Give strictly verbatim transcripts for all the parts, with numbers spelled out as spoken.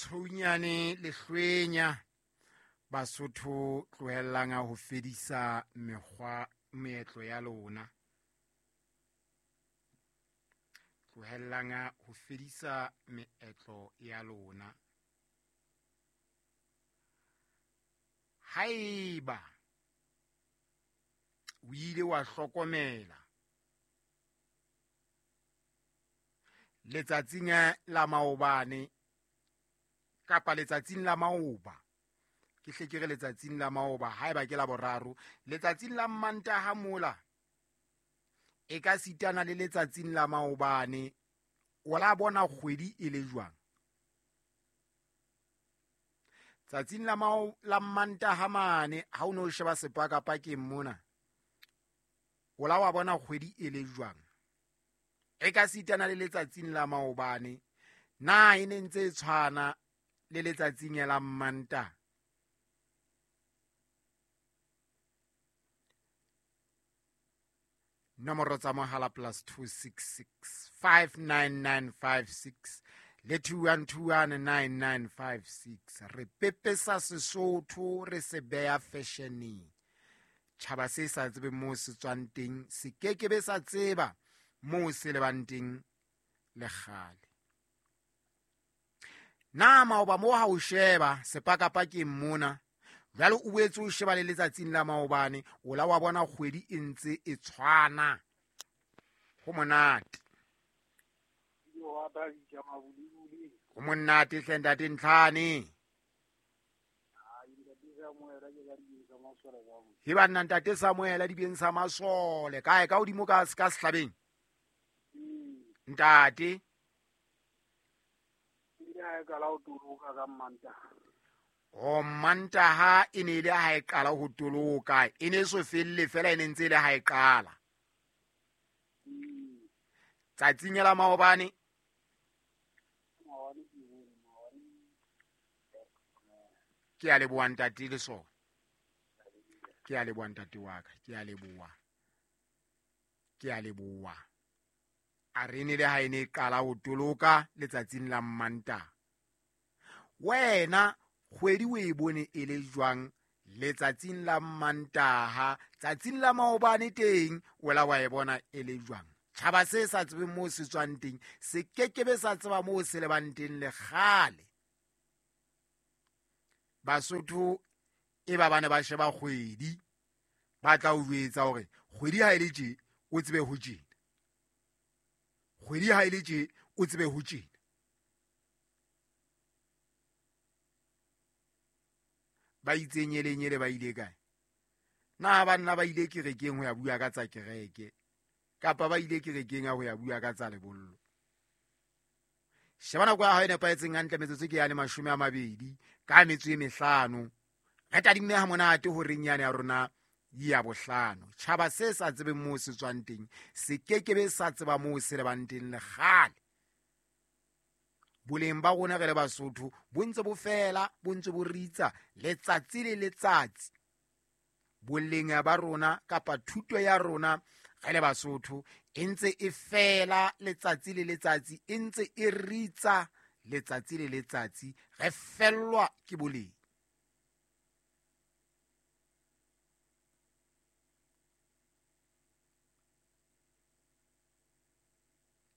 Letsounyane lehlwenya Basotho tlohellang ho fedisa mekgwa meetlo ya lona. Tlohellang ho fedisa meetlo ya lona. Haeba o ile wa hlokomela letsatsing la maobane kapa letsatsing la maoba, ke hle ke re letsatsing la maoba haeba ke la boraro, letsatsing la Mantaha mola e ka sitana le letsatsing la maobane, o la bona kgwedi e le jwang? Tsatsing la mao la Mantaha mane ha o no sheba sepakapakeng mona, o la wa bona kgwedi e le jwang? E ka sitana le letsatsing la maobane, na e ne ntse e tshwana le letsatsing la Mantaha? Nomoro tsa mohala plus two six six five nine nine five six le two one two one nine nine five six. Re pepesa Sesotho, re se beha fashioneng. Tjhaba se sa tsebe moo se tswang teng, se kekebe sa tseba moo se lebang teng le kgale. Na maoba moo ha o sheba sepakapakeng mona, jwale o boetse o sheba le letsatsing la maobane, o la wa bona kgwedi e ntse e tshwana. Ho monate. Ho monate hle ntate Ntlhane. He banna ntate Samuel dibeng sa masole kae ka hodimo ka ka sehlabeng? Ntate. O Mantaha e ne ile ha e qala ho toloka, e ne so felle fela e ne ntse ile ha e qala. Tsatsing la maobane ke a leboha ntate le sona. Ke a leboha ntate wa ka, ke a leboha. Ke a leboha. A re ne le ha e ne qala ho toloka letsatsing la Mantaha. Wena kgwedi o e bone e le jwang letsatsing la Mantaha, tsatsing la maobane teng o la wa e bona e le jwang? Tjhaba se sa tsebeng moo se tswang teng, se kekebe sa tseba moo se lebang teng le kgale. Basotho e ba bane ba sheba kgwedi, ba tla o jwetsa hore kgwedi ha e le tje o tsebe ho tjena, kgwedi ha e le tje o tsebe ho tjena. Ba itse nyele nyele ba ile kae? Na banna ba ile kerekeng ho ya bua ka tsa kereke, kapa ba ile kerekeng ho ya bua ka tsa lebollo? Sheba nako ya hao e nepahetseng hantle, metsotso ke yane mashome a mabedi ka metso e mehlano. Re tadimme ha monate horeng yane ya rona ya bohlano. Tjhaba se sa tsebeng moo se tswang teng, se kekebe sa tseba moo se lebang teng le kgale. Boleng ba rona re le Basotho bo ntse bo fela, bo ntse bo ritsa letsatsi le letsatsi. Boleng ba rona kapa thuto ya rona re le Basotho e ntse e fela letsatsi le letsatsi, e ntse e ritsa letsatsi le letsatsi, re fellwa ke boleng.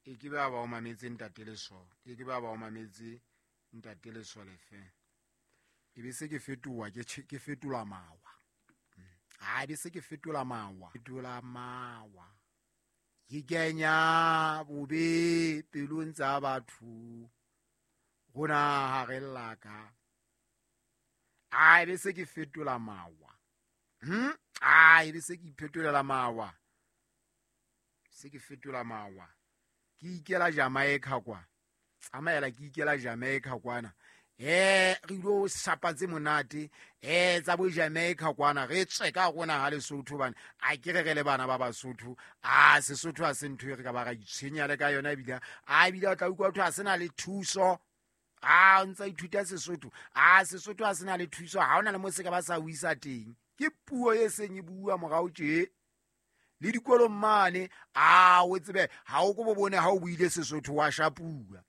E ke ba ba o mametse ntate Lesole, e ke ba ba o mametse ntate Lesole fe. E be se ke fetoha ke ke fetola mawa. Ha e be se ke fetola mawa, fetola mawa. Ke kenya bobe pelong tsa batho. Rona ha re llaka. Ha e be se ke fetola mawa. Hm? Ha e be se ke iphetolela mawa. Se ke fetola mawa. Ke ikela Jamaica kwa. Tsamaela ke ikela Jamaica kwana. Eh re ilo shapa tse monate, eh tsa bo Jamaica kwana, re tswe ka rona ha Lesotho bana. A ke re re le bana ba Basotho, a Sesotho a se ntho e re ka ba ra itshwenya le ka yona ebile. A ebile o tla utlwa batho a sena le thuso. A o ntsa ithuta Sesotho, a Sesotho a sena le thuso, ha ona le mo se ka ba sa o isa teng. Ke puo e seng e bua morao tje. Le dikolong mane, a o tsebe ha o ko bo bone ha o buile Sesotho wa shapua.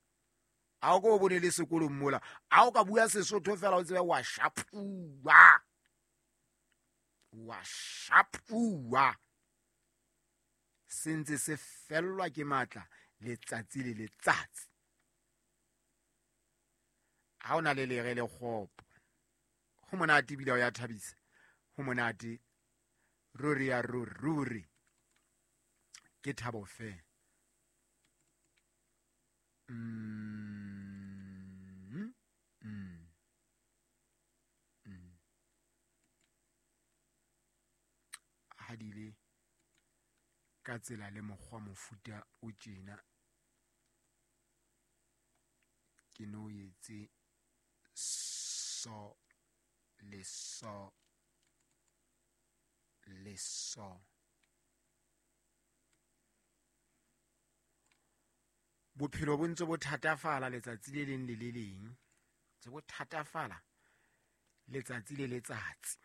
A o ko o bone le sekolong mola, a o ka bua Sesotho fela o tsebe wa shapuwa, wa shapuwa. Se ntse se fellwa ke matla letsatsi le letsatsi. Ha o na le lere le kgopo, ho monate ebile o ya thabisa, ho monate ruri ya ruri, ruri ke thabo fela. Mm, mm, mm. Ha di le ka tsela le mokgwa mofuta o tjena, ke no etse so le so le so. Bophelo bo ntse bo thatafala letsatsi le leng le le leng, ntse bo thatafala letsatsi le letsatsi.